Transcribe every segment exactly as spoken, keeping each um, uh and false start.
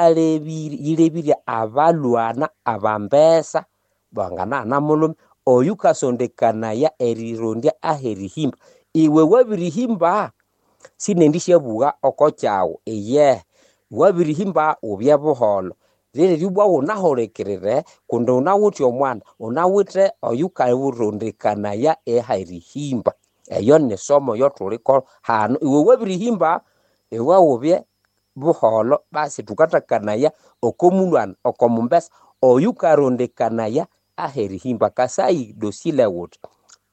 Yikalebĩre yĩlebĩre abalwana abambesa banganahana mulhume oyukasondekanaya erirondya aherihimba. Iwe wabirihimba sinendisyabuga oko kyawu iyehe, wabirihimba wubye buholho. Liryo ibwa wunahulikirire kundi wunawithe omwana, wunawithe oyukarondekanaya aherihimba. Eyo ni somo eyothuliko hano. Iwe wabirihimba iwe wubye buholho basi thukathakanaya oko mulwana oko mumbesa oyukarondekanaya aherihimba. Kasai dosile wuthi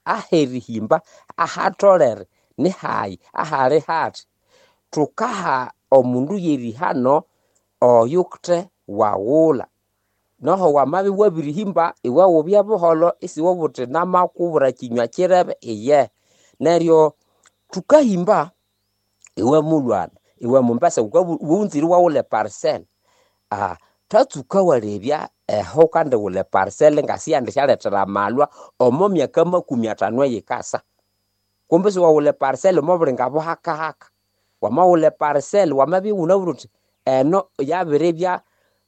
aherihimba ahatolere nihayi ahali hathi. Thukaha omundu yerihano oyuthe waghulha. Noho wamabya iwabirihimba iwe wubye buholho isiwabugha wuthi namakubwira kinywa kirebe iyehe. Neryo thukahimba iwe mulwana iwe mumbesa wunzire iwaghulha eparcel, thatsuka walebya eho wukandighulha eparcel ngasiyendisyalethera amalwa omo myaka makumi athanu eyikasa. Kumbe isiwaghulha eparcel omo bulinga buhakahaka. Wamaghulha eparcel wamabya iwunabwire wuthi eno yabiribya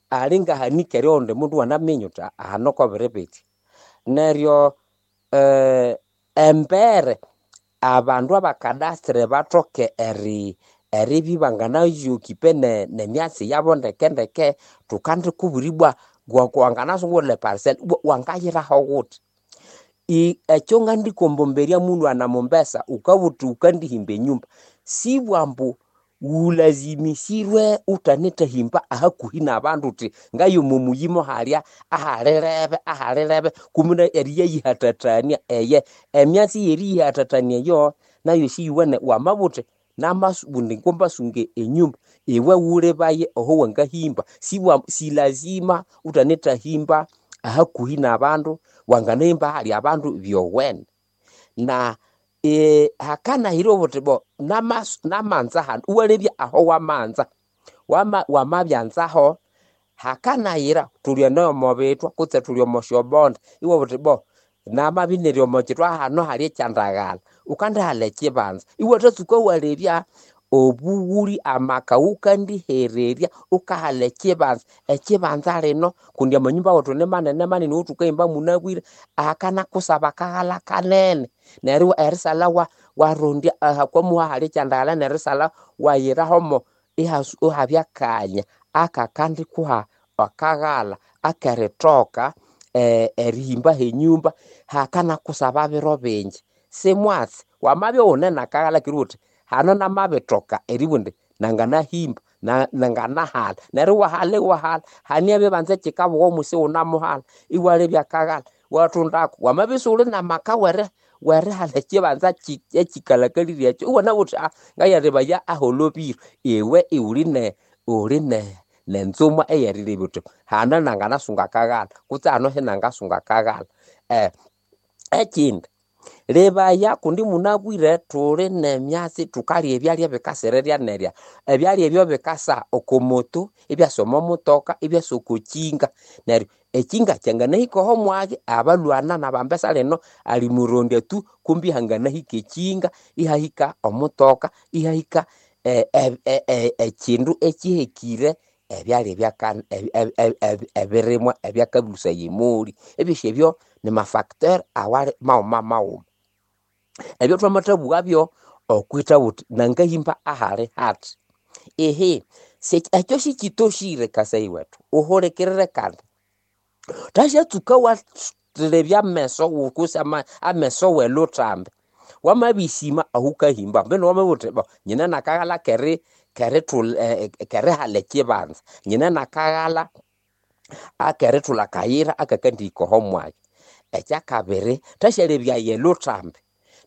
alingahanika erighundi mundu iwanaminya wuthi hano kobiri bitya. Neryo embere abandu abakadastre bathoke eri eribya ibanganayokipe nemyatsi yabo ndeke ndeke. Thukandikubwira ibwa wanganasa iwaghulha eparcel wangayiraho wuthi. Ekyo ngandikombombera mulhwana mumbesa wukabugha wuthi wukandihimba enyumba, sibwa ambu wulazimisirwe wuthanethahimba ahakuhi nabandu wuthi ngaye omo muyimo halya ahalirebe ahalirebe kumbe eriyayihathathania eye. Emyatsi yeriyihathathania eyo nayo siyiwene. Wamabugha wuthi namabundi ngombasunga enyumba, iwe wulebaye aho wangahimba. Sibwa silazima wuthanethahimba ahakuhi nabandu, wanganahimba ahali abandu byowene. Na hakanayira obuthi bo namanza hanu iwalebya aho wamanza. Wamabyanzaho hakanayira thuli eno omo bithwa kutse thuli omo syobonde iwabugha wuthi bo namabya iniri omo kithwa hano hali ekyandaghalha, wukandihalha ekyibanza iwathatsuka walebya obughuli amaka wukandihererya wukahalha ekyibanza. Ekyibanza lino kundi amanyumba wethu ni manene manene owothukahimba munabwire akanakusaba akaghalha kanene neryo erisalha warondya ahakwamuha hali ekyandaghalha nerisalha wayirahomo ihabya akanya akakandikuha akaghalha akerithoka erihimba henyumba hakanakusaba biro bingi. Simwatsi wamabya iwune nakaghalha neryo wuthi hano namabithoka eribugha indi nanganahimba nanganahala neryo iwahala iwahala hane ebibanza ekikabugha omwisi iwunamuhala iwalebya akaghalha iwathundako. Wamabya isiwuli namaka werihala ekyibanza ekyikalhakalire ekyo iwanabugha wuthi ngayalebaya aholobire iwe iwuli ne wuli nenzuma eyerilebya wuthi hano nanganasunga akaghalha kutse hano sinangasunga akaghalha. Ekindi lebaya kundi munabwire thuli nemyatsi thukalya ebyalya ebikasirirya nerya. Ebyalya ebyo bikasa oko moto, ibyasa omo mutoka, ibyasa oko kyinga. Neryo ekyinga kyanganahika oho mwagi abalhwana nabambesa lino alimurondya tu kumbi hanganahika ekyinga, ihahika omutoka, ihahika ekyindu ekyihekire ebyalya ebirimwa ebyakabusaya emoli. Ebyosi ebyo nimafacteur awali maghuma maghuma. Ebyo thwamathabughabyo okwitha wuthi nangahimba ahali hathi. Ihi ekyo sikyitoshire kasai wethu, wuhulikirire kandi. Thashatsuka iwalebya ameso kutse ameso welhuthambi. Wamabisima ahukahimba mbinu wamabugha wuthi bo nyine nakaghalha kerihala ekyibanza, nyine nakaghalha akerithulha akayira akakandihika oho mwanya. Ekyakabiri thasyalebya elhuthambi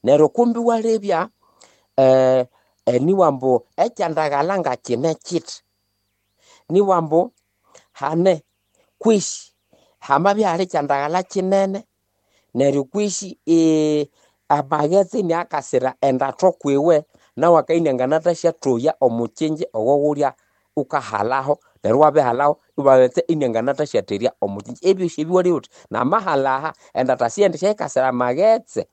neryo kumbi iwalebya eniwambu ekyandaghalha ngakyine kyithi. Niwambu hane kwisi hamabya ihali ekyandaghalha kyinene neryo kwisi amaghetse iniakasira endatho kwiwe nawu akabya inianganathasyathowya omukyinji owawulya wukahalaho neryo iwabihalaho iwabetse inianganathasyatherya omukyinji. Ebyosi ebi iwalebya wuthi namahala aha endatha siyendisyayikasira amaghetse.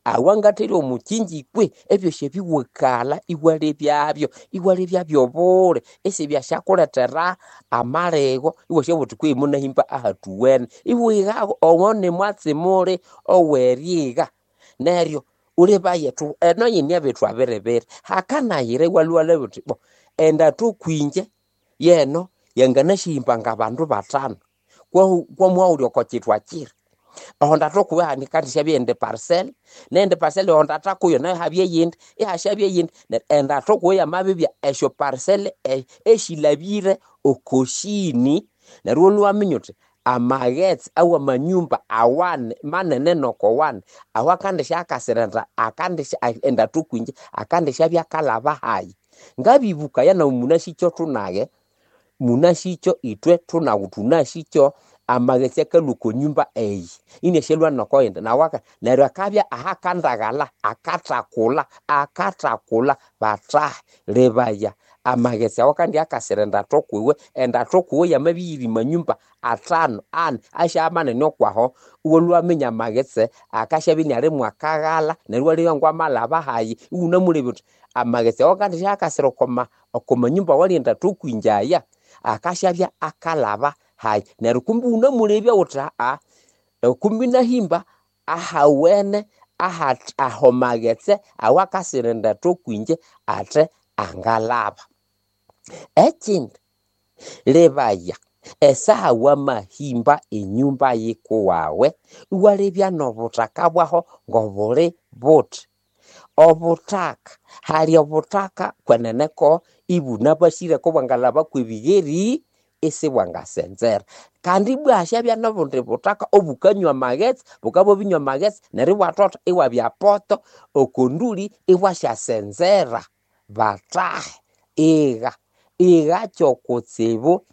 Awangatherya omukyinji kwe ebyosi ebiwakalha iwalebyabyo, iwalebya obule isibyathasyakulethera amaligho iwasyabugha wuthi kwehi munahimba ahathuwene. Iwighaho owo nimwatsi muli owerigha. Neryo wulebaye thu eno yine ebitwa biribiri. Hakanayira iwalhwa iwalebya wuthi bo endathu kwinje yeno yanganasyahimba ngabandu bathanu kwamwawuli oko kyithwa kiri. Oho ndathu kuwe hakandisyabya eyindi parcel, neyindi parcel oho ndatha kuyo nayo ihabya eyindi, ihasyabya eyindi. Neryo endathu kuwe yamabibya esyo parcel esilhabire oko sini, neryo iwalhwa iwaminya wuthi amaghetse awamanyumba awani manene noko wani aho akandisya akandisya endathu kwinje akandisyabya akalhaba hayi. Ngabibukaya nawu munasikyo thunage, munasikyo ithwe thunawu thunasikyo amaghetse akalhwa oko nyumba eyi iniasyalhwa noko yindi nawu neryo akabya ahakandaghalha akathakulha akathakulha bathahi. Lebaya amaghetse awo kandi akasira endathu kwiwe, endathu kwiwe yamabya iyiri manyumba athanu ani asyabya manene okwaho iwalhwa iwaminya amaghetse akasyabya iniali mwakaghalha neryo iwalebya ngwamalhaba hayi iwunamulebya wuthi amaghetse awo akandisya akasira oko manyumba awali endathu kwinje aya akasyabya akalhaba hayi. Neryo kumbi iwunamulebya wuthi aa kumbi nahimba ahawene aho maghetse awakasira endathu kwinje athe angalhaba. Ekindi, lebaya esaha wamahimba enyumba yikuwawe iwalebya n'obuthaka bwaho ngobuli buthi. Obuthaka, hali obuthaka kweneneko ibunabasireko bwangalhaba kw'ebigheri isibwangasenzera. Kandi ibwa hasyabya n'obundi buthaka obukanywa amaghetse, bukabya bwabinywa amaghetse neryo ibwathotha iwabya poto oko nduli ibwasyasenzera. Bathahi, igha, igha kyokutsibu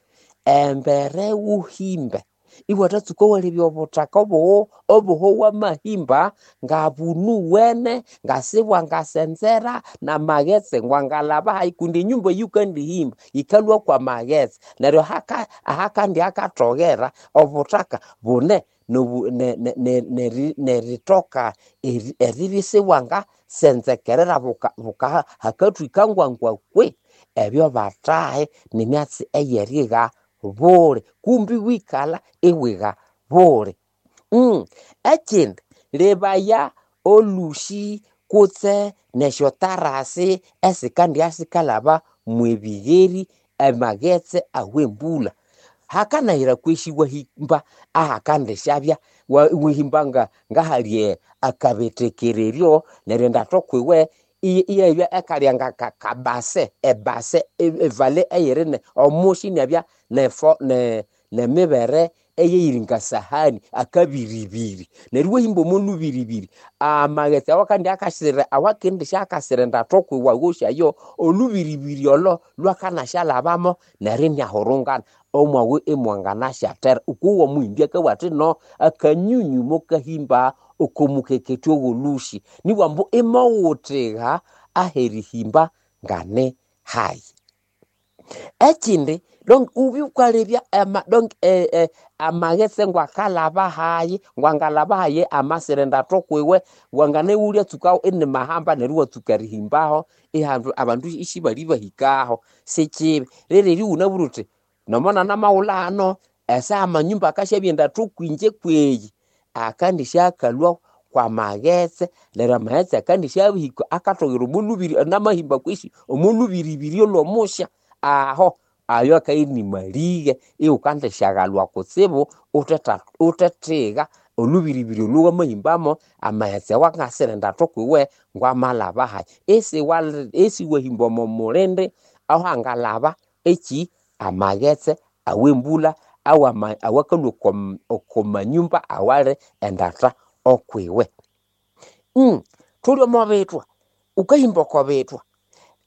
embere wuhimbe iwathatsuka iwalebya obuthaka obuho obuho wamahimba ngabunuwene ngasibwangasenzera n'amaghetse ngwangalhaba hayi kundi enyumba eyikandihimba yikalhwa kw'amaghetse. Neryo ahakandi akathoghera obuthaka bune nerithoka eribya isibwangasenzekerera hakathwika ngwangwa kwe. Ebyo bathahi nimyatsi eyerigha buli kumbi iwikalha iwigha buli. Ekindi, lebaya olhusi kutse nesyotarasi esikandya sikalhaba mwebigheri amaghetse awembulha. Hakanayira kwesi iwahimba ahakandisyabya iwahimba ngahali akabetekereryo neryo endathu kwiwe iyabya ekalya ngakabase ebase evale eyiri omusi inabya nemibere eyeyiri ngasahani akabiribiri. Neryo iwahimba omo lubiribiri amaghetse awakandya akasira awakendisya akasira endathu kwiwe awosi ayo olubiribiri olo lwakanasyalhabamo neryo iniahurungana omwawe imwanganasyathera. Ukuwa omuhimbi akabugha athi no akanyunyu mukahimba oko mukeketya ow'olhusi nibughambu ambu imowuthigha aherihimba ngane hayi. Ekindi donc wubye wukalebya donc amaghetse ngwakalhaba hayi, ngwangalhaba hayi amasira endathu kwiwe, wanganaghulya tsukaho inimahamba neryo iwatsuka erihimbaho ihandu abandu isibali bahikaho, sikibi. Rero iwunabwire wuthi nomo namawulha hano esaha amanyumba akasyabya endathu kwinje kweyi akandisya akalhwa kw'amaghetse neryo amaghetse akandisya abihika akathoghera omo lubiri namahimba kwesi omo lubiribiri olw'omusya aho ayo akabya inimalighe iwukandisyaghalhwa kutsibu wuthethiga olubiribiri olho wamahimbamo amaghetse awangasira endathu kwiwe ngwamalhaba hayi. Isiwahimba omo mulindi ahangalhaba ekyi amaghetse awembulha awakalhwa oko manyumba awali endatha okwiwe. Thuli omo bithwa, wukahimba oko bithwa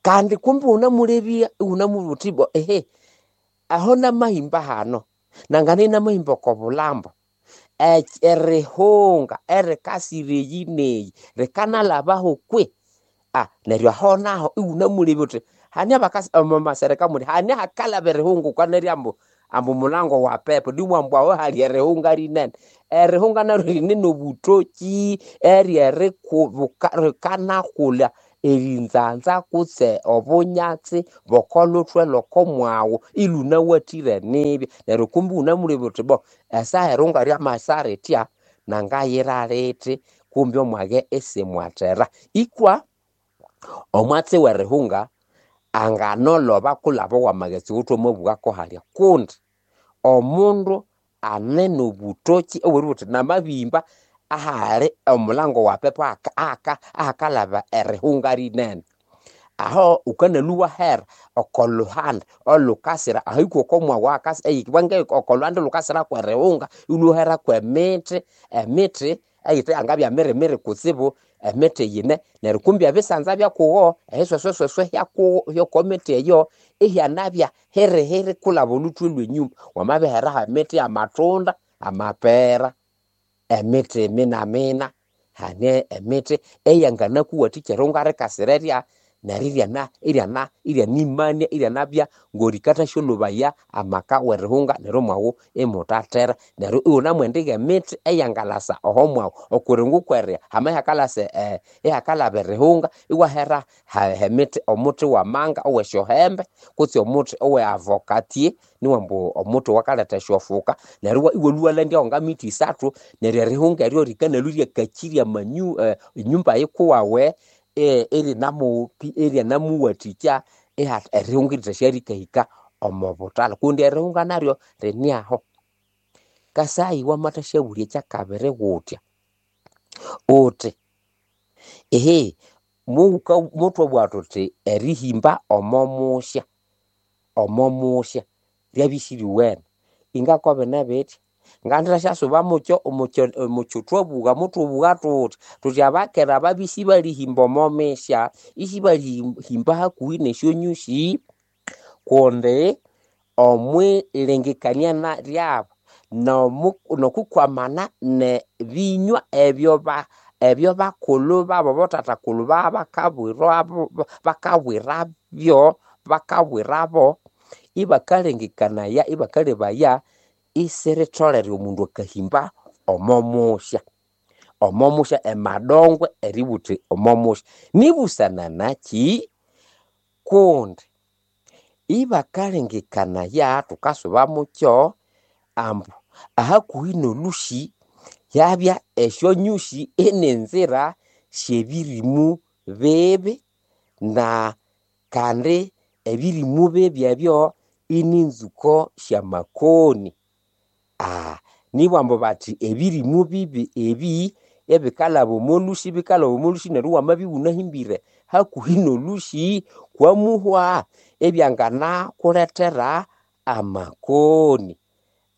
kandi kumbi iwunamulebya iwunamubwira wuthi ibwa ehe aho namahimba hano nangana inamahimba oko bulhambo erihunga erikasira eyi neyi rikanalhabaho kwe? Neryo aho naho iwunamulebya wuthi hane abakasi omo masereka muli hane hakalhaba erihunga wukanirya ambu ambu mulango wa pepo niwambu aho hali erihunga rinene. Erihunga naryo rine n'obutoki eryerikanakulha erinzanza kutse obunyatsi bokoluthwe lw'okomwaghu ilhunawathire nibya. Neryo kumbi iwunamulebya wuthi bo esaha erihunga ryamasa rithya nangayira lithi kumbi omwage isimwathera. Ikwa omwatsi w'erihunga anganoloba kulaba owamaghetse owothwamabugha halya kundi omundu ane n'obutoki obw'eribugha wuthi namabihimba ahali omulango wa pepo ahakalaba erihunga rinene. Aho wukanalwa iwahera oko luhandi olhukasira ahahika oko mwaghu oko lhuhandi olhukasira kwerihunga iwalhwa kwemithi, emithi eyithe yangabya mirimiri kutsibu emithi yine neryo kumbi ebisanza byakuwo ehisweswesweswe hyoko mithi eyo ihyanabya hirihiri kulaba olhuthwe lw'enyuma. Wamabiheraho emithi y'amatunda, amapera, emithi minamina, hane emithi eyanganakuwathikya erihunga rikasira erya neryo iryana iryana iryanimania iryanabya ng'orikathasyolhobaya amaka w'erihunga neryo omwaghu imuthathera. Neryo iwunamwendiga emithi eyangalasa oho mwaghu okuringo kwerya hama ihakalasa ihakalaba erihunga iwahera emithi omuthi w'amanga ow'esyohembe kutse omuthi owe avocatier niwambu omuthi owakaletha esyofuka neryo iwalhwa iwalandyaho ngamithi isathu neryo erihunga eryo rikanalhwa iryakakirya amanyu enyumba yikuwawe iryanamuwathikya erihunga erithasyarikahika omo buthalha kundi erihunga naryo rinyaho. Kasayi wamathasyabulya ekyakabiri wuthya wuthi ehe muthwabugha thuthi erihimba omo musya omo musya ryabya isiriwene ingakobine bithya ngandithasyasuba mukyo mukyo thwabugha muthwabugha thuthi thuthi abakera babya isibalihimba omo misya isibalihimba hakuhi n'esyonyusi kundi omwilengekania ryabu n'okukwamana n'ebinywa ebyo ebyo bakulhu babu abathathakulhu bakabwirabyo bakabwirabo ibakalengekanaya ibakalebaya isiritholere omundu akahimba omo musya omo musya emadongwe eribugha wuthi omo musya. Nibusana nakyi kundi ibakalengekanaya thukasuba mukyo ambu ahakuhi n'olhusi hyabya esyonyusi inenzira syebirimu bibi na kandi ebirimu bibi ebyo ininzuko syamakoni. Nibambu bathi ebirimu bibi ebi ebikalhaba omo lhusi bikalhaba omo lhusi neryo wamabya iwunahimbire hakuhi n'olhusi kwamuhwa ebyanganakulethera amakoni.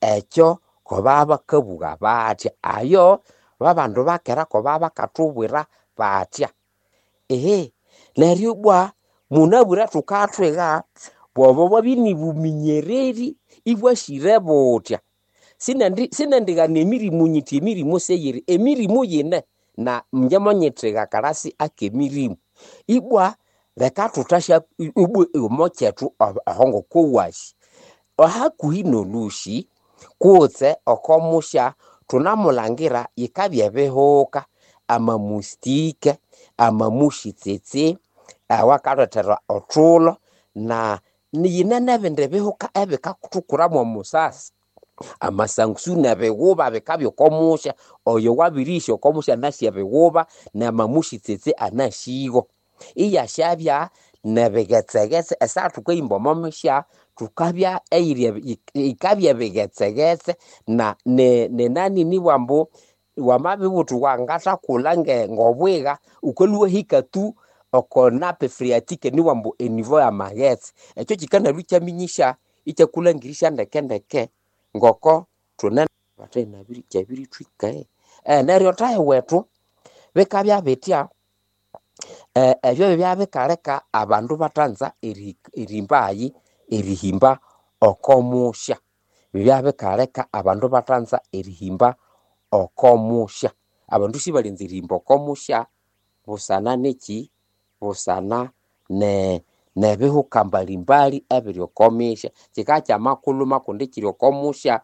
Ekyo kobabakabugha bathya ayo babandu bakera kobabakathubwira bathya. Ehe neryo ibwa munabwire thukathwiga bwobo bwabya inibuminyereri ibwasire buthya. Sinendighana emirimu nyithi emirimu seyiri, emirimu yine na ingye monyithiga akalasi ak'emirimu. Ibwa leka thuthasya ibwa omo kyethu aho ngokowasi hakuhi n'olhusi kutse oko musya thunamulangira yikabya ebihuka amamustike, amamushitsitsi awakalethera othulho na yine n'ebindi bihuka ebikathukuramo omusasi. Amasangusu n'ebighuba bikabya oko musya oyo wabirihya oko musya anasi ebighuba n'amamushitsitsi anasigo. Iyasyabya n'ebighetsegetse esaha thukahimba omo musya thukabya eyiri yikabya ebighetsegetse na nenani nibambu wamabibugha wuthi wangathakulha ng'obwiga wukalhwa iwahika tu oko nappe phreatic niwambu enivo y'amaghetse. Ekyo kyikanalhwa ikyaminyisya ikyakulhangirisya ndeke ndeke ngoko thune kyabirithwika. Neryo thahi wethu bikabya bithya ebyo byabya abandu bathanza erimbayi erihimba oko musya. Byabya abandu bathanza erihimba oko musya. Abandu sibalinza erihimba oko musya busana nekyi busana ne N'ebihuka mbalimbali ebiri oko misya. Kikabya kyamakuluma kundi kiri oko musya,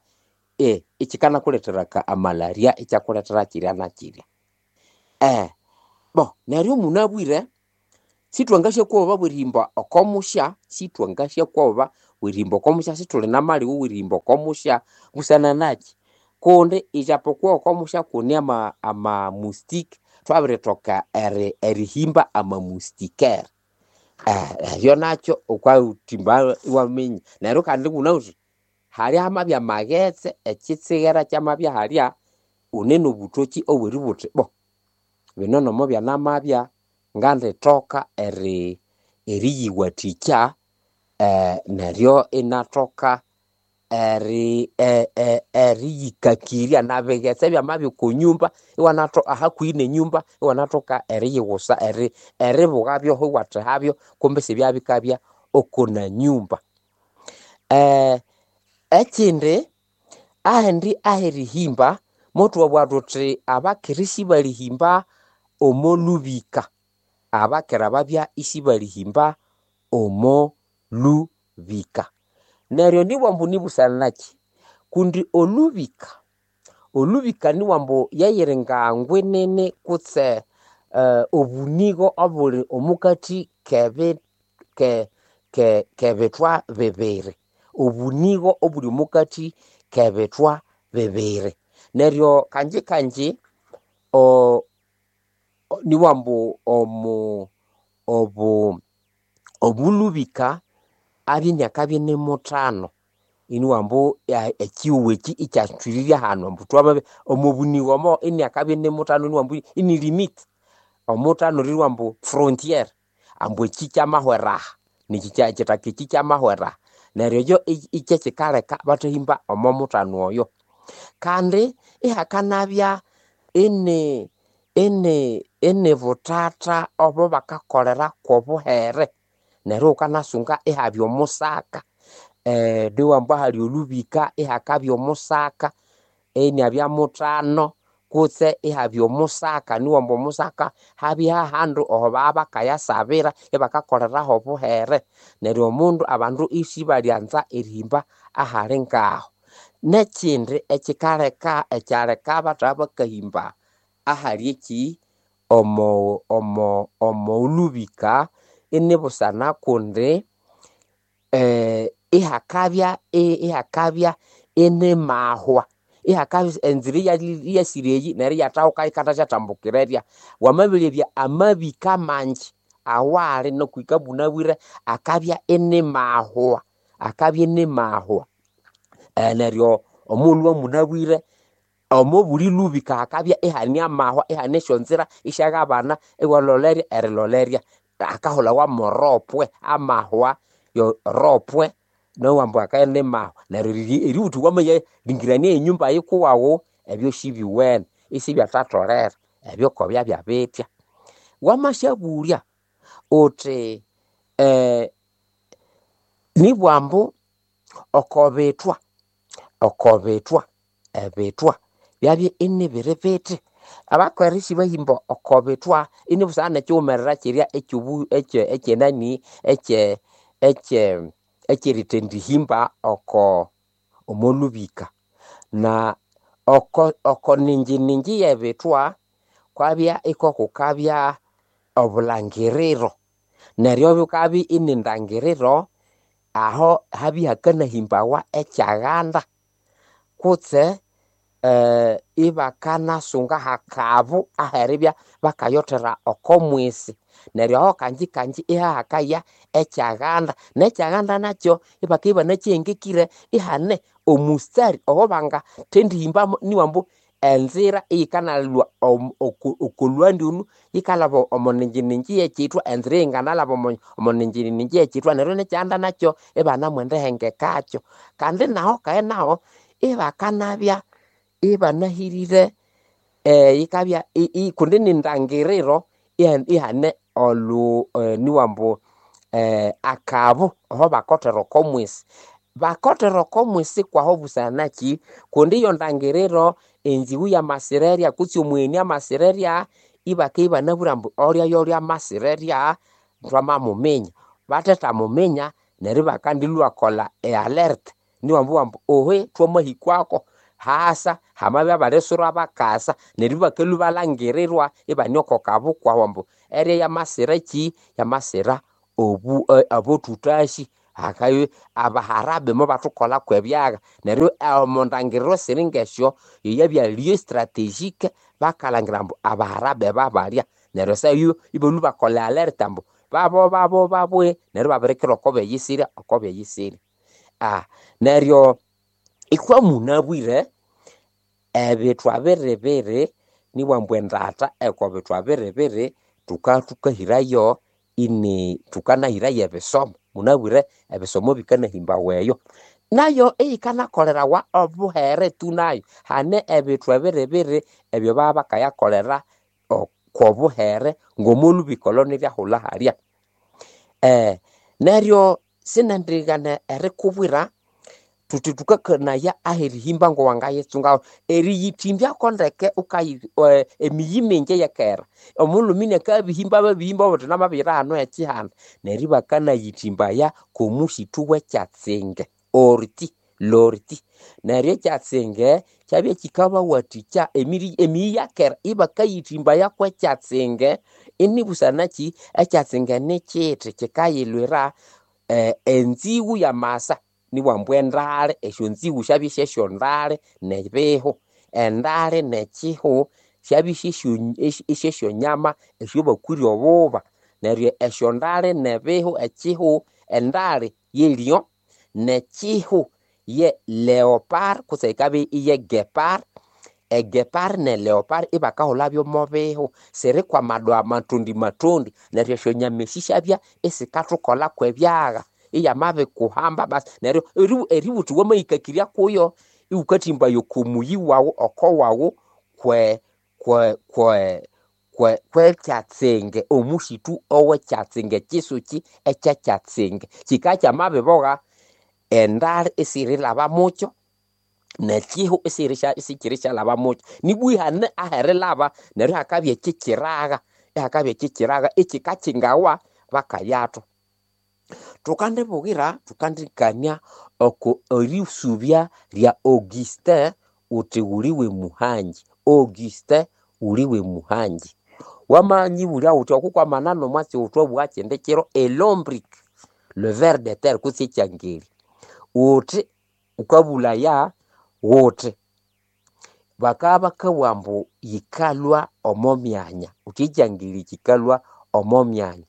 eh, ikikanakulethera ka amalaria ikyakulethera kirya na kirya. Eh, bo neryo munabwire sithwangasyakwoba bwerihimba oko musya, sithwangasyakwoba bwerihimba oko musya, sithuli namalighu werihimba oko musya busana naki? Kundi ijapokuwa oko musya kune ama amamustike, thwabirithoka eri erihimba amamustikere. Eh, ebyo nakyo wukawuthimba iwaminya. Neryo kandi wunawuthi halya hamabya amaghetse, ekitsighera kyamabya halya, wune nobuthoki obweribugha wuthi bo bino nomo byanamabya ngandithoka eri eriyiwathikya eh, neryo inathoka eri e- e- eriyikakirya nabighetse byamabya oko nyumba iwanatho ahakuhi nenyumba iwanathoka eriyighusa eri eribughabyoho iwathehabyo kumbi isibyabikabya oko nanyumba. Eh, ekindi ahindi aherihimba mothwabugha thuthi abakera isibalihimba omo lubika, abakera babya isibalihimba omo lubika. Neryo nibwambu nibusana naki? Kundi olubika, olubika niwambu yeyiri nga ngwinene kutse eh, obunigo obuli omukathi kebi ke ke kebithwa bibiri, obunigo obuli omukathi kebithwa bibiri. Neryo kanji kanji o niwambu omu obu obulubika abya iniakabya ini muthano iniwambu ekyihugho ekyi ikyathwirirye hanu ambu thwamabi omo bunigo omo iniakabya ini muthano iniwambu ini limit omuthano ririwambu frontier ambu ekyi kyamahwera aha nekyi ekithaka ekyi kyamahwera aha. Neryo ekyo ikyekikaleka bathahimba omo muthano oyo. Kandi ihakanabya ini ini ini buthatha obo bakakolera kwobuhere neryo wukanasunga ihabya omusaka eh, niwambu ahali olubika ihakabya omusaka iniabya muthano kutse ihabya omusaka niwambu omusaka habya hahandu aho baba bakayasabira ibakakoleraho obuhere neryo omundu abandu isibalyanza erihimba ahali ngaho. Nekindi ekikaleka ekyaleka abathaha bakahimba ahali eki omo omo omolubika inibusana kundi eh, ihakabya ihakabya inimahwa ihakabya enzira iyasire eyi neryo iyathahuka yikathasyatambukira erya. Wamabiryabya amabika mangi awali nokuhika bunabwire akabya inimahwa, akabya inimahwa. Eh, neryo omughulhu wamunabwire omo buli lubika hakabya ihane amahwa ihane esyonzira isyaghabana iwalolerya erilolerya akahulawa moropwe amahwa yo ropwe nowambu akabya inimahwa neryo eributhi wamaya lingirania enyumba yikuwaghu ebyo sibiwene isibyathatholere ebyo kobyabya bitya. Wamasyabulya wuthi eh, nibwambu oko bithwa oko bithwa ebithwa byabya inibiri bithi abakera isibahimba oko bithwa inibusana nekyighumerera kirya ekyobu ekye ekyenani ekye ekye ekyerithendihimba oko omolubika na oko oko ninji ninji yebithwa kwabya ikokukabya obulhangiriro neryo bukabya inindangiriro aho habya hakanahimbawa ekyaghanda kutse eh, ibakanasunga hakabu aheribya bakayothera oko mwisi neryo aho kanji kanji ihahakaya ekyaghanda nekyaghanda nakyo ibakabya ibanakyihengekire ihane omustari owo bangathendihimbamu niwambu enzira iyikanalwa okolwandi olhu yikalhaba omo ninjininji yekyithwa enzira eyinganalhaba omo omo ninjininji yekyithwa neryo nekyaghanda nakyo ibanamwendihengekakyo. Kandi naho kayi naho ibakanabya ibanahirire eh, yikabya kundi nindangiriro ihane olhu niwambu eh, akabu aho bakothera oko mwisi. Bakothera oko mwisi kwaho busana naki? Kundi iyo ndangiriro enziwu yamasirerya kutse omugheni amasirerya ibakabya ibanabwire ambu olya yolya amasirerya thwamamuminya. Bathethamuminya neryo ibakandilwakolha ealert niwambu wambu ohe twamahikwako hasa hamabya balisura bakasa neryo ibakalhwa ibalangirirwa ibane oko kabukwahu ambu eria yamasira kyi yamasira obu abothutashi hakaye abaharabe mobathukolha ebyagha neryo omondangiriro siri ngesyo yeyabya lieu strategique bakalhangira ambu abaharabe babalya neryo esayo ibalhwa ibakolha alert ambu babo babo babwe neryo ibabirikira oko beyisirya oko beyisirya. Ah, neryo ithwe munabwire ebithwa biribiri niwambu endata eko bithwa biribiri thuka thukahirayo ini thukanahirayo ebisomo munabwire ebisomo bikanahimbawa eyo nayo eyikanakolerawa obuhere tu nayo hane ebithwa biribiri ebyo baba bakayakolera okwobuhere ngomolubika niryahulha halya. Eh, neryo sinendighana erikubwira thuthi thukakanaya aherihimba ngowangayitsungaho eriyithimbako ndeke ukayi emiyi mingi eyekera omulhume inakabihimba babihimba obuthi namabiyira hano ekihanda neryo ibakanayithimbaya kwomusithu wekyatsinge orti lorti neryo ekyatsinge kyabya kikabawathikya emiri emiyi yakera ibakayithimbaya kwekyatsinge inibusanaki ekyatsinge nikithi kikayilhwira eh, enzigu yamasa niwambu endale esyonzigu syabya syesyondale nebihu endale nekihu syabya syesyonyama esyobakwire obuba neryo esyondale nebihu ekihu endale ye lion nekihu ye leopard kutse yikabya iye gepard egepard ne leopard ibakahulhabyo omo bihu sirikwa amadoa matondi matondi neryo esyonyama esi syabya isikathukolha kwebyagha iyamabikuhamba basi neryo eributhi wamahikakirya kuyo iwukathimbayo okomuyi wawu oko wawu kwe kwe kwe kwe kwekyatsinge omusithu owekyatsinge ekisuki ekyekyatsinge kikakyamabibogha endali isirilhaba mukyo nekihu isikirishalhaba mukyo nibwa ihane aherilhaba neryo ihakabya ekikyiragha ihakabya ekikyiragha ekikakingawa bakayathwa. Thukandibughira thukandikania oko erisubya lya Augustin wuthi wuli wemuhangi Augustin wuli wemuhangi wamanyibulya wuthi okukwamana nomwatsi wuthwabugha kindi kiro elombric le ver de terre kutse ekyangeli wuthi wukabulaya wuthi bakabya bakabugha ambu yikalhwa omo myanya wuthi ekyangeli kyikalhwa omo myanya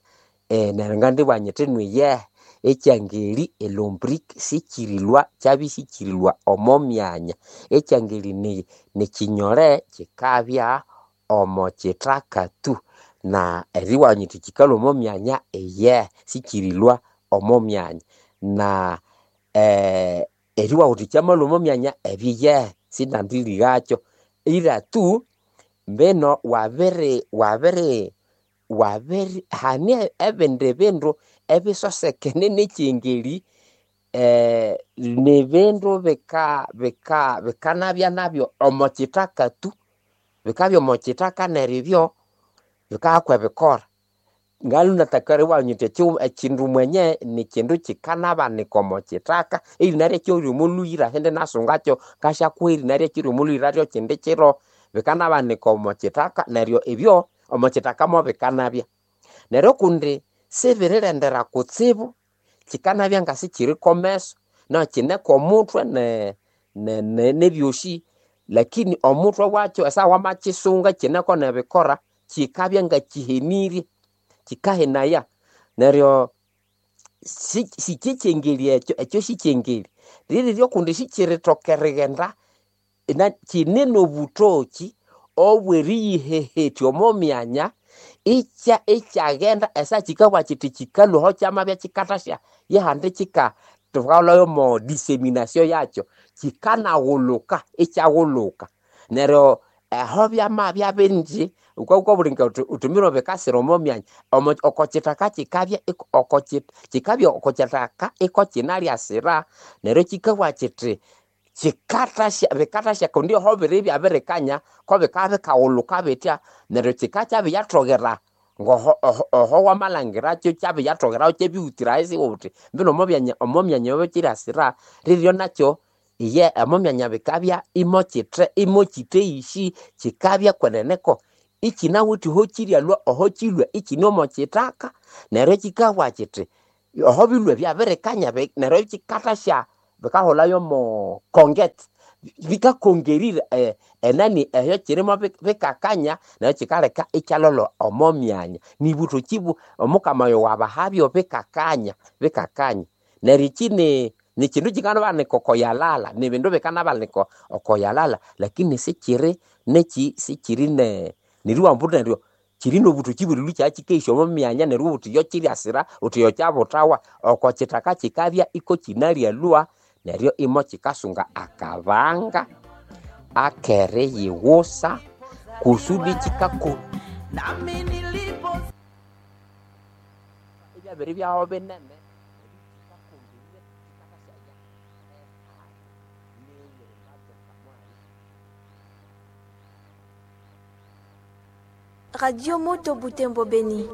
eh, neryo ngandibugha nyithi nwiyehe ekyangeli elombric sikirilwa kyabya sikirilwa omo myanya ekyangeli ni nikinyole kikabya omo kithaka tu na eriwanya nyithi kikalhwa omo myanya iyehe sikirilwa omo myanya na eh, eriwabugha wuthi kyamalhwa omo myanya ebyo iyehe sinandilighakyo ila tu mbino wabiri wabiri wabiri hane ebindi bindu ebisosekene nekyengeli eh, nibindu bika bika bikanabya nabyo omo kithaka tu bikabya omo kithaka neryo ebyo bikahakwa ebikora ngalhunathaka eriwabugha nyithi ekindu mwenye nikindu kikanabanika omo kithaka erina lyakyo ryomo lhuyira indinasungakyo ngasyakuha erina lyakyo ryomo lhuyira ryo kindi kiro bikanabanika omo kithaka neryo ebyo omo kithaka mobikanabya neryo kundi sibirilendera kutsibu kikanabya ngasikiri komeso na kine komuthwe ne ne ne nebyosi lakini omuthwe wakyo esaha wamakisunga kineko nebikora kikabya ngakihenirye kikahenaya neryo sikikyengeli ekyo ekyo sikyengeli liriryo kundi sikirithoka erighenda kine nobutoki obweriyihehetya omo myanya ikya ikyaghenda esaha kikabugha kyithi kikalhwaho kyamabya kikathasya yihandi kika thukalhwayo omo dissemination yakyo kikanaghulhuka ikyaghulhuka neryo aho byamabya bingi wukabugha wuthi wuthi mbino bikasira omo myanya omo oko kithaka kikabya oko kikabya oko kithaka iko kinalyasira neryo kikabugha kyithi kikathasya bikathasya kundi aho biribya birikanya ko bikabya bikaghulhuka bitya neryo kikakyabiyathogera ngoho oho wamalangiracho kyabiyatogeraho kyebiwutira isi uti mbino omo omo myanya yobo kyiriasira riryo nakyo iye omo myanya bikabya imokyithe imokyitheishi kikabya kweneneko ikinawithe oho kiryalwa oho kilwa ikine omo kithaka neryo kikabugha kiti oho bilwe byabirikanya neryo kikathasya bikaholhayo omo konget bikakongerira eh, enani eyo kirimo bikakanya neryo kikaleka ikyalolha omo myanya nibuthoki omukama oyo wabahabyo bikakanya bikakanya neryo iki ni nikindu kikanabanika okoyalala nibindu bikanabanika okoyalala lakini sikiri neki sikiri ne neriwambu neryo kiri nobuthoki buli lukya kikeisya omo myanya neryo ubuthi yo kiryasira uthi yo kyabuthawa oko kithaka kikabya iko kinalyalwa neryo imo kikasunga akabanga akeriyiwusa kusudi kikaku ebyabiri byaho binene Radio Moto Butembo Beni.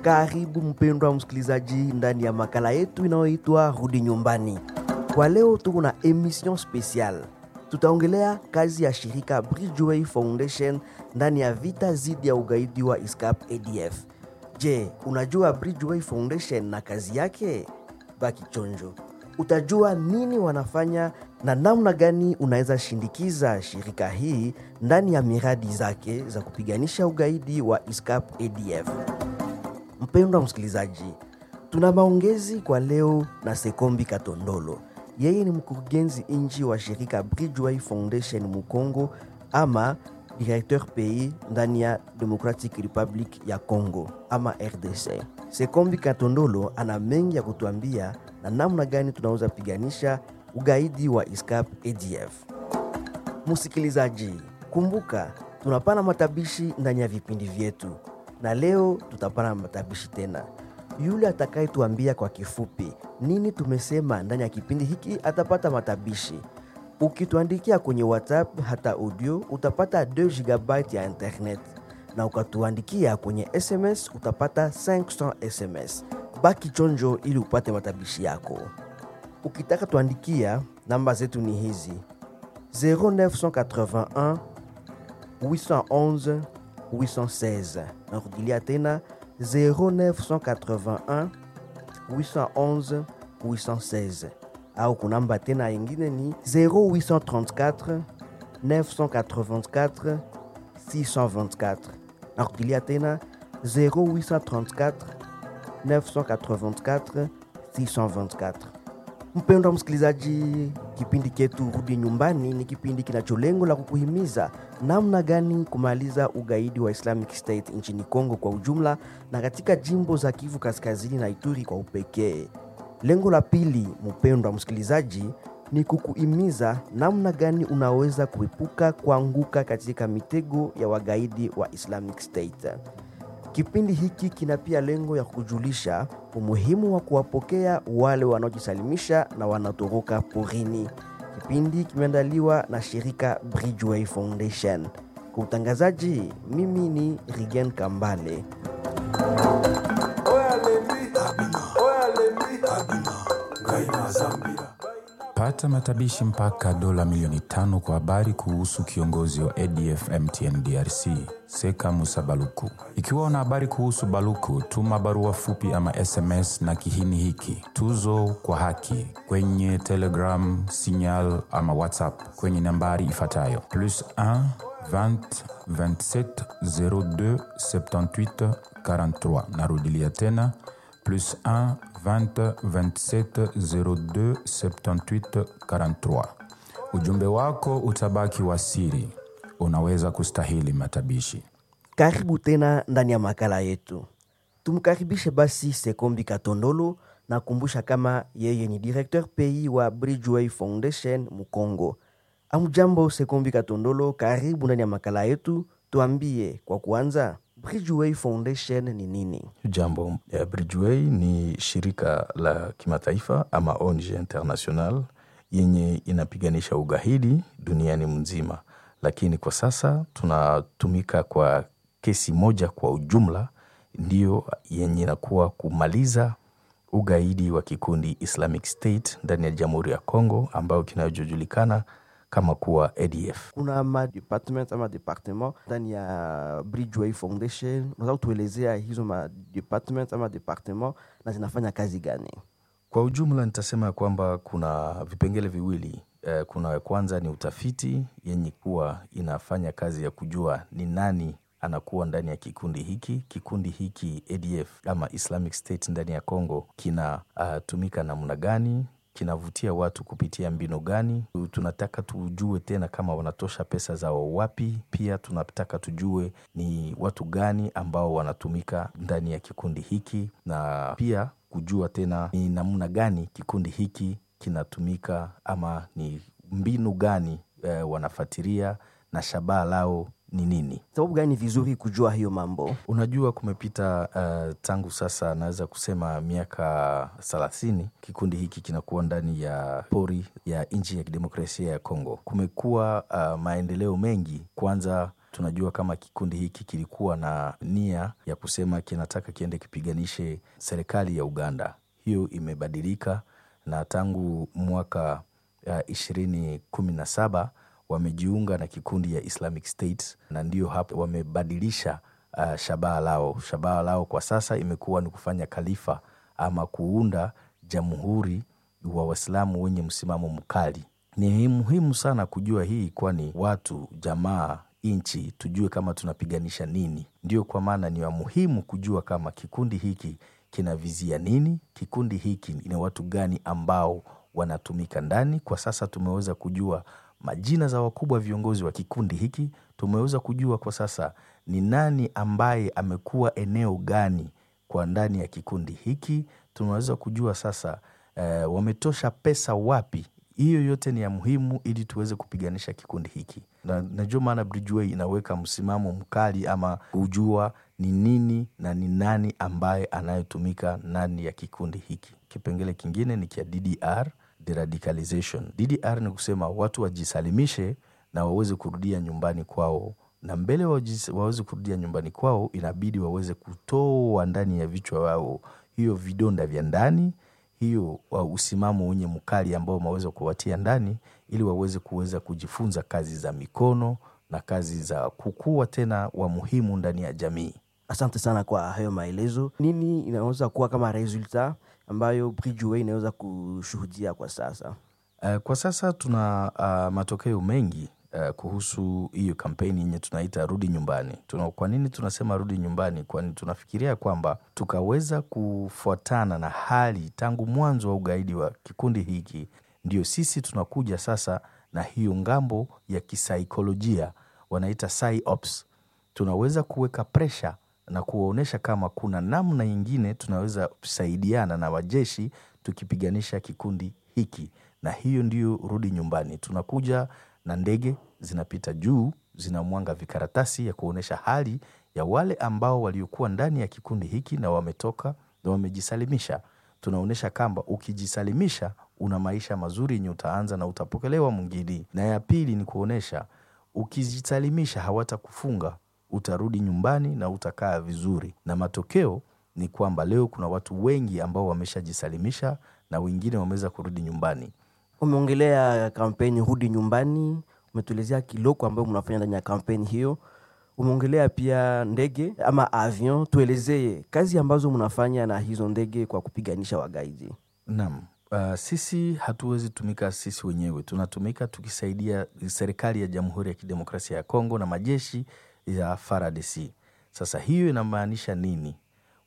Karibu mpendwa msikilizaji ndani ya makala yetu inayoitwa Rudi Nyumbani. Kwa leo tuko na emission special. Tutaongelea kazi ya shirika Bridgeway Foundation ndani ya vita dhidi ya ugaidi wa ISCAP A D F. Je, unajua Bridgeway Foundation na kazi yake? Baki chonjo. Utajua nini wanafanya na namna gani unaweza shindikiza shirika hii ndani ya miradi zake za kupiganisha ugaidi wa ISCAP A D F. Mpendwa msikilizaji, tuna maongezi kwa leo na Sekombi Katondolo. Yeye ni mkurugenzi inji wa shirika Bridgeway Foundation Mukongo ama directeur pays ndani ya Democratic Republic ya Congo ama R D C. Sekombi Katondolo ana mengi ya kutuambia na namna gani tunaweza piganisha ugaidi wa ISCAP A D F. Msikilizaji, kumbuka tunapana matabishi ndani ya vipindi vyetu, na leo tutapana matabishi tena. Yule atakayetuambia kwa kifupi nini tumesema ndani ya kipindi hiki atapata matabishi. Ukituandikia kwenye WhatsApp hata audio utapata deux gigabytes ya internet, na ukatuandikia kwenye S M S utapata cinq cents S M S. Baki chonjo ili upate matabishi yako. Ukitaka tuandikia, namba zetu ni hizi: zéro neuf cent quatre-vingt-un huit cent onze huit cent seize. Narudilia tena zéro neuf cent quatre-vingt-un huit cent onze huit cent seize. Au kunamba tena ingine ni zéro huit cent trente-quatre neuf cent quatre-vingt-quatre six cent vingt-quatre. Narudilia tena zéro huit cent trente-quatre neuf cent quatre-vingt-quatre six cent vingt-quatre. Mpendwa msikilizaji, kipindi chetu Rudi Nyumbani ni kipindi kinacho lengo la kukuhimiza namna gani kumaliza ugaidi wa Islamic State nchini Kongo kwa ujumla na katika jimbo za Kivu Kaskazini na Ituri kwa upekee. Lengo la pili, mpendwa msikilizaji, ni kukuhimiza namna gani unaweza kuepuka kuanguka katika mitego ya wagaidi wa Islamic State. Kipindi hiki kina pia lengo ya kujulisha umuhimu wa kuwapokea wale wanaojisalimisha na wanatoroka porini. Kipindi kimeandaliwa na shirika Bridgeway Foundation. Kwa utangazaji, mimi ni Rigen Kambale. Pata matabishi mpaka dola milioni tano kwa habari kuhusu kiongozi wa A D F M T N D R C, Seka Musa Baluku. Ikiwa una habari kuhusu Baluku, tuma barua fupi ama S M S na kihini hiki: tuzo kwa haki, kwenye Telegram, Signal ama WhatsApp kwenye nambari ifuatayo: plus un vingt vingt-sept zéro deux soixante-dix-huit quarante-trois. Narudilia tena plus un vingt vingt-sept zéro deux soixante-dix-huit quarante-trois. Ujumbe wako utabaki wa siri. Unaweza kustahili matabishi. Karibu tena ndani ya makala yetu. Tumkaribishe basi Sekombi Katondolo na kumbusha kama yeye ni directeur pays wa Bridgeway Foundation Mukongo. Amjambo Sekombi Katondolo, karibu ndani ya makala yetu. Tuambie kwa kuanza, Bridgeway Foundation ni nini? Jambo, ya Bridgeway ni shirika la kimataifa ama O N G international yenye inapiganisha ugaidi duniani mzima, lakini kwa sasa tunatumika kwa kesi moja kwa ujumla, ndiyo yenye inakuwa kumaliza ugaidi wa kikundi Islamic State ndani ya Jamhuri ya Kongo ambayo kinachojulikana kama kuwa A D F. Kuna ma department ama departement ndani ya Bridgeway Foundation. Unaweza kutuelezea hizo ma department ama departement na zinafanya kazi gani? Kwa ujumla nitasema kwamba kuna vipengele viwili. Eh, kuna kwanza ni utafiti yenye kuwa inafanya kazi ya kujua ni nani anakuwa ndani ya kikundi hiki. Kikundi hiki A D F ama Islamic State ndani ya Kongo kinatumika uh, namna gani, kinavutia watu kupitia mbinu gani. Tunataka tujue tena kama wanatosha pesa zao wapi. Pia tunataka tujue ni watu gani ambao wanatumika ndani ya kikundi hiki, na pia kujua tena ni namna gani kikundi hiki kinatumika ama ni mbinu gani, eh, wanafuatilia na shabaha lao ni nini. Sababu gani vizuri kujua hiyo mambo? Unajua kumepita, uh, tangu sasa naweza kusema miaka thelathini kikundi hiki kinakuwa ndani ya pori ya nchi ya kidemokrasia ya Kongo. Kumekuwa, uh, maendeleo mengi. Kwanza tunajua kama kikundi hiki kilikuwa na nia ya kusema kinataka kiende kipiganishe serikali ya Uganda. Hiyo imebadilika na tangu mwaka, uh, ishirini kumi na saba wamejiunga na kikundi ya Islamic State, na ndio hapo wamebadilisha, uh, shabaha lao. Shabaha lao kwa sasa imekuwa ni kufanya khalifa ama kuunda jamhuri wa Waislamu wenye msimamo mkali. Ni muhimu sana kujua hii, kwani watu, jamaa, nchi tujue kama tunapiganisha nini. Ndio kwa maana ni muhimu kujua kama kikundi hiki kinavizia nini, kikundi hiki ni watu gani ambao wanatumika ndani. Kwa sasa tumeweza kujua majina za wakubwa viongozi wa kikundi hiki, tumeweza kujua kwa sasa ni nani ambaye amekuwa eneo gani kwa ndani ya kikundi hiki, tunaweza kujua sasa, eh, wametosha pesa wapi. Hiyo yote ni ya muhimu ili tuweze kupiganisha kikundi hiki. Na najua maana Bridgeway inaweka msimamo mkali ama kujua ni nini na ni nani ambaye anayetumika ndani ya kikundi hiki. Kipengele kingine ni kia D D R, deradicalization. D D R ni kusema watu wajisalimishe na waweze kurudia nyumbani kwao. Na mbele wajis-, waweze kurudia nyumbani kwao inabidi waweze kutoa ndani ya vichwa wao hiyo vidonda vya ndani, hiyo wa usimamo wenye mkali ambao wameweza kuwatia ndani, ili waweze kuweza kujifunza kazi za mikono na kazi za kukua tena wa muhimu ndani ya jamii. Asante sana kwa hayo maelezo. Nini inaweza kuwa kama resulta ambayo Bridgeway inaweza kushuhudia kwa sasa? Uh, kwa sasa tuna, uh, matokeo mengi, uh, kuhusu hiyo kampeni yenye tunaita Rudi Nyumbani. Tuna, kwa nini tunasema Rudi Nyumbani? Kwani tunafikiria kwamba tukaweza kufuatana na hali tangu mwanzo wa ugaidi wa kikundi hiki, ndio sisi tunakuja sasa na hiyo ngambo ya kisaikolojia wanaita psyops. Tunaweza kuweka pressure na kuwaonesha kama kuna namna nyingine tunaweza kusaidiana na wajeshi tukipiganisha kikundi hiki. Na hiyo ndiyo Rudi Nyumbani. Tunakuja na ndege zinapita juu, zinamwanga vikaratasi ya kuonesha hali ya wale ambao waliokuwa ndani ya kikundi hiki na wametoka na wamejisalimisha. Tunaonesha kamba ukijisalimisha una maisha mazuri yenye utaanza na utapokelewa mwingine. Na ya pili ni kuonesha ukijisalimisha hawatakufunga, utarudi nyumbani na utakaa vizuri. Na matokeo ni kwamba leo kuna watu wengi ambao wameshajisalimisha na wengine wameweza kurudi nyumbani. Umeongelea kampeni Rudi Nyumbani, umetuelezea kiloko ambayo mnafanya ndani ya kampeni hiyo. Umeongelea pia ndege ama avion, tuelezee kazi ambazo mnafanya na hizo ndege kwa kupiganisha wagaidi. Naam. Uh, sisi hatuwezi tumika sisi wenyewe, tunatumika tukisaidia serikali ya Jamhuri ya Kidemokrasia ya Kongo na majeshi ya F A R D C. Sasa hiyo inamaanisha nini?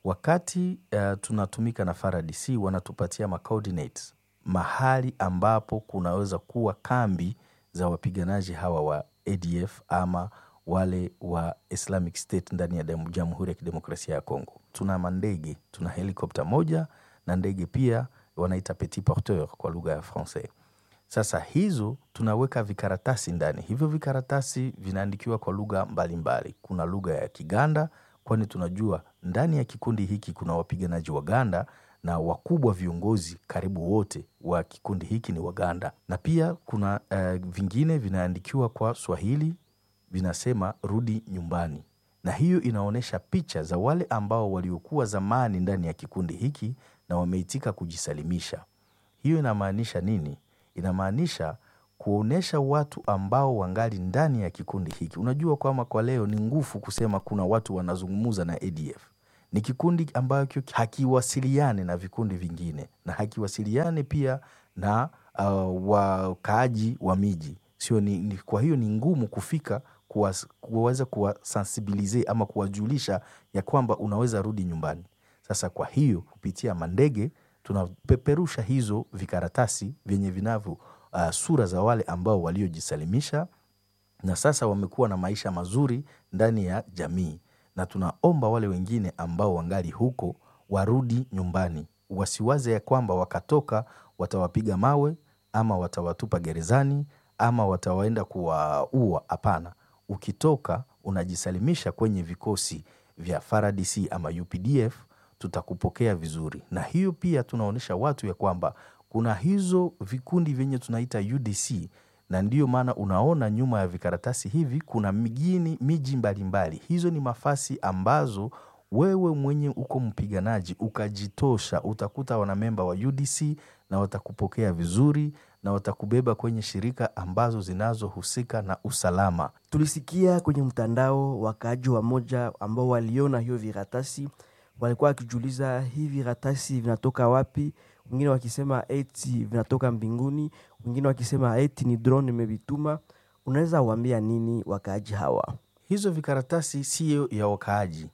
Wakati, uh, tunatumika na F A R D C wanatupatia ma coordinates, mahali ambapo kunaweza kuwa kambi za wapiganaji hawa wa A D F ama wale wa Islamic State ndani ya dem-, Jamhuri ya Kidemokrasia ya Kongo. Tuna mandege, tuna helikopta moja na ndege pia wanaita petit porteur kwa lugha ya Francais. Sasa hizo tunaweka vikaratasi ndani. Hivyo vikaratasi vinaandikiwa kwa lugha mbalimbali. Kuna lugha ya Kiganda, kwani tunajua ndani ya kikundi hiki kuna wapiganaji Waganda na wakubwa viongozi karibu wote wa kikundi hiki ni Waganda. Na pia kuna, eh, vingine vinaandikiwa kwa Swahili vinasema rudi nyumbani, na hiyo inaonyesha picha za wale ambao waliokuwa zamani ndani ya kikundi hiki na wameitika kujisalimisha. Hiyo inamaanisha nini? Inamaanisha kuonesha watu ambao wangali ndani ya kikundi hiki. Unajua kwamba kwa leo ni ngufu kusema kuna watu wanazungumza na A D F. Ni kikundi ambacho hakiwasiliane na vikundi vingine na hakiwasiliane pia na uh, wakaaji wa miji. Sio ni, ni, kwa hiyo ni ngumu kufika kuwas, kuweza kuwasensibilize ama kuwajulisha ya kwamba unaweza rudi nyumbani. Sasa kwa hiyo kupitia mandege tunapeperusha hizo vikaratasi vyenye vinavyo uh, sura za wale ambao waliojisalimisha na sasa wamekuwa na maisha mazuri ndani ya jamii, na tunaomba wale wengine ambao wangali huko warudi nyumbani, wasiwaze ya kwamba wakatoka watawapiga mawe ama watawatupa gerezani ama watawaenda kuwaua. Hapana, ukitoka unajisalimisha kwenye vikosi vya F A R D C ama U P D F, tutakupokea vizuri. Na hiyo pia tunaonesha watu ya kwamba kuna hizo vikundi vyenye tunaita U D C, na ndiyo maana unaona nyuma ya vikaratasi hivi kuna migini, miji mbalimbali. Hizo ni mafasi ambazo wewe mwenye uko mpiganaji ukajitosha, utakuta wanamemba wa U D C na watakupokea vizuri na watakubeba kwenye shirika ambazo zinazohusika na usalama. Tulisikia kwenye mtandao wakaaji wa moja ambao waliona hiyo viratasi walikuwa wakijiuliza hivi viratasi vinatoka wapi, wengine wakisema eti vinatoka mbinguni, wengine wakisema eti ni drone imevituma. Unaweza waambia nini wakaaji hawa? Hizo vikaratasi sio ya wakaaji,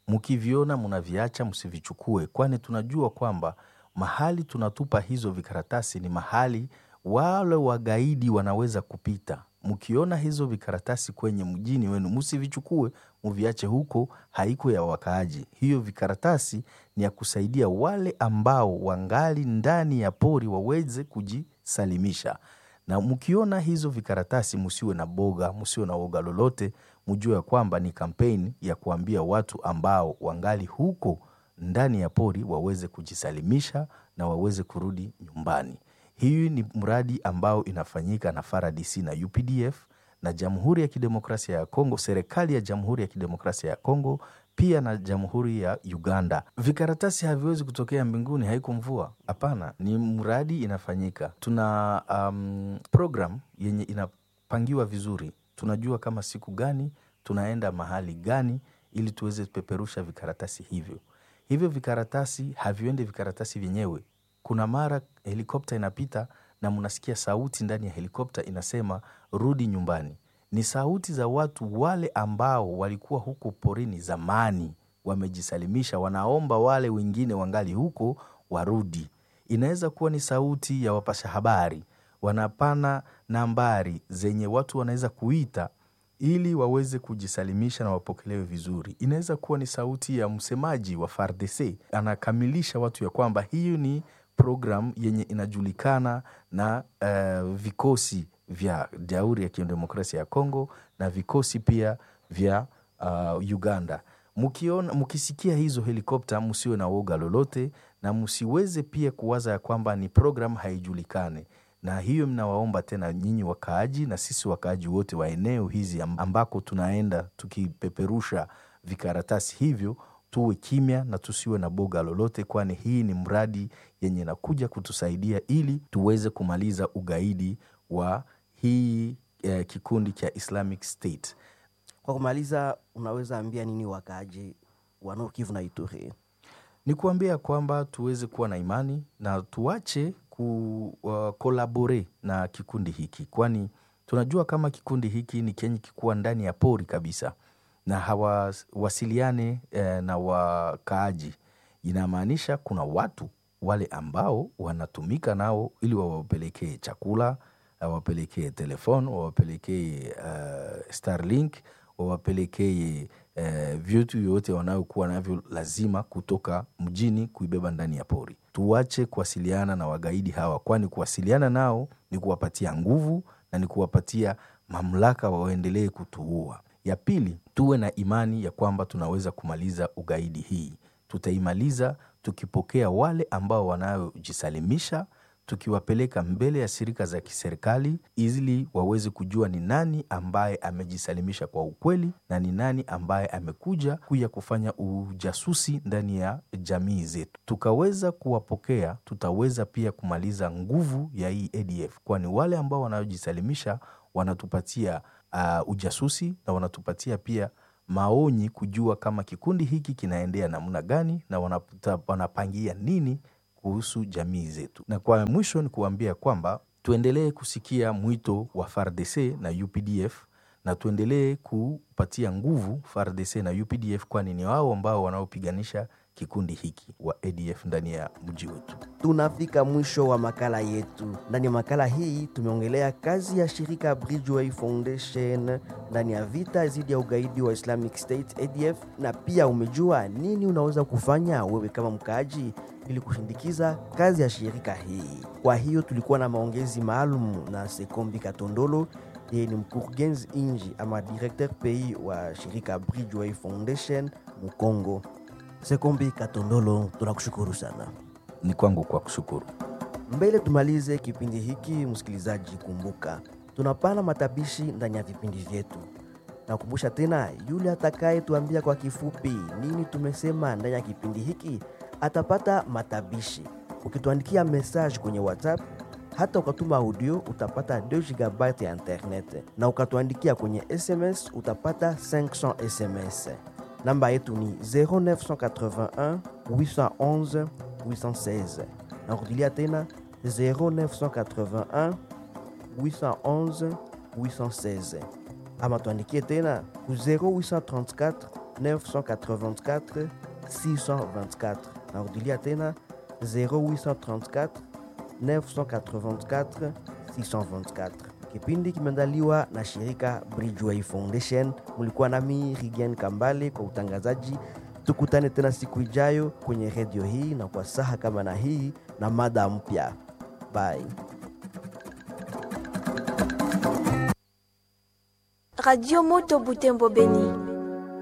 mkiviona mnaviacha, msivichukue, kwani tunajua kwamba mahali tunatupa hizo vikaratasi ni mahali wale wagaidi wanaweza kupita. Mkiona hizo vikaratasi kwenye mjini wenu msivichukue, mviache huko, haiko ya wakaaji. Hiyo vikaratasi ni ya kusaidia wale ambao wangali ndani ya pori waweze kujisalimisha. Na mkiona hizo vikaratasi msiwe na boga, msiwe na woga lolote, mjue ya kwamba ni kampeni ya kuambia watu ambao wangali huko ndani ya pori waweze kujisalimisha na waweze kurudi nyumbani. Hii ni mradi ambao inafanyika na F A R D C na U P D F na Jamhuri ya Kidemokrasia ya Kongo, serikali ya Jamhuri ya Kidemokrasia ya Kongo pia na Jamhuri ya Uganda. Vikaratasi haviwezi kutokea mbinguni, haiko mvua. Hapana, ni mradi inafanyika. Tuna um, program yenye inapangiwa vizuri. Tunajua kama siku gani tunaenda mahali gani ili tuweze kupeperusha vikaratasi hivyo. Hivyo vikaratasi haviendi vikaratasi vyenyewe. Kuna mara helikopta inapita na mnasikia sauti ndani ya helikopta inasema rudi nyumbani. Ni sauti za watu wale ambao walikuwa huko porini zamani, wamejisalimisha, wanaomba wale wengine wangali huko warudi. Inaweza kuwa ni sauti ya wapasha habari, wanapana nambari zenye watu wanaweza kuita ili waweze kujisalimisha na wapokelewe vizuri. Inaweza kuwa ni sauti ya msemaji wa F A R D C, anakamilisha watu ya kwamba hiyo ni program yenye inajulikana na, uh, vikosi vya Jamhuri ya Kidemokrasia ya Kongo na vikosi pia vya, uh, Uganda. Mkiona, mkisikia hizo helikopta msiwe na woga lolote na msiweze pia kuwaza ya kwamba ni program haijulikani. Na hiyo mnawaomba tena nyinyi wakaaji na sisi wakaaji wote wa eneo hizi ambako tunaenda tukipeperusha vikaratasi hivyo, tuwe kimya na tusiwe na boga lolote, kwani hii ni mradi yenye inakuja kutusaidia ili tuweze kumaliza ugaidi wa hii, eh, kikundi cha Islamic State. Kwa kumaliza, unaweza ambia nini wakaaji wa Nord Kivu na Ituri? Ni kuambia kwamba tuweze kuwa na imani na tuache ku, uh, kolabore na kikundi hiki, kwani tunajua kama kikundi hiki ni kenye kikuwa ndani ya pori kabisa na hawawasiliane, eh, na wakaaji. Inamaanisha kuna watu wale ambao wanatumika nao ili wawapelekee chakula, wawapelekee telefon, wawapelekee, uh, Starlink, wawapelekee, eh, vitu yote wanayokuwa navyo lazima kutoka mjini kuibeba ndani ya pori. Tuache kuwasiliana na wagaidi hawa, kwani kuwasiliana nao ni kuwapatia nguvu na ni kuwapatia mamlaka waendelee kutuua. Ya pili, tuwe na imani ya kwamba tunaweza kumaliza ugaidi hii. Tutaimaliza tukipokea wale ambao wanayojisalimisha, tukiwapeleka mbele ya shirika za kiserikali ili waweze kujua ni nani ambaye amejisalimisha kwa ukweli na ni nani ambaye amekuja kuya kufanya ujasusi ndani ya jamii zetu. Tukaweza kuwapokea, tutaweza pia kumaliza nguvu ya hii A D F, kwani wale ambao wanaojisalimisha wanatupatia uh, ujasusi na wanatupatia pia maonyi kujua kama kikundi hiki kinaendea namna gani na wanaputa, wanapangia nini kuhusu jamii zetu. Na kwa mwisho ni kuambia kwamba tuendelee kusikia mwito wa F A R D C na U P D F na tuendelee kupatia nguvu F A R D C na U P D F, kwani ni wao ambao wanaopiganisha kikundi hiki wa A D F ndani ya mji wetu. Tunafika mwisho wa makala yetu. Ndani ya makala hii tumeongelea kazi ya shirika Bridgeway Foundation ndani ya vita dhidi ya ugaidi wa Islamic State A D F, na pia umejua nini unaweza kufanya wewe kama mkaaji ili kushindikiza kazi ya shirika hii. Kwa hiyo tulikuwa na maongezi maalum na Sekombi Katondolo, yeye ni mkurugenzi inji ama directeur pays wa shirika Bridgeway Foundation Mukongo. Sekombi Katondolo, tunakushukuru sana. Ni kwangu kwa kushukuru. Mbele tumalize kipindi hiki, msikilizaji, kumbuka tunapana matabishi ndani ya vipindi vyetu. Nakumbusha tena, yule atakayetuambia kwa kifupi nini tumesema ndani ya kipindi hiki atapata matabishi. Ukituandikia message kwenye WhatsApp hata ukatuma audio utapata deux gigabytes ya internet, na ukatuandikia kwenye S M S utapata cinq cents S M S. Namba yetu ni zéro neuf cent quatre-vingt-un huit cent onze huit cent seize. Narudilia tena zéro neuf cent quatre-vingt-un huit cent onze huit cent seize. Ama tuandikie tena ku zéro huit cent trente-quatre neuf cent quatre-vingt-quatre six cent vingt-quatre. Narudilia tena zéro huit cent trente-quatre neuf cent quatre-vingt-quatre six cent vingt-quatre. Kipindi kimeandaliwa na shirika Bridgeway Foundation. Mulikuwa nami Rigen Kambale kwa utangazaji. Tukutane tena siku ijayo kwenye redio hii na kwa saha kama na hii na mada mpya. Bye. Radio Moto Butembo Beni.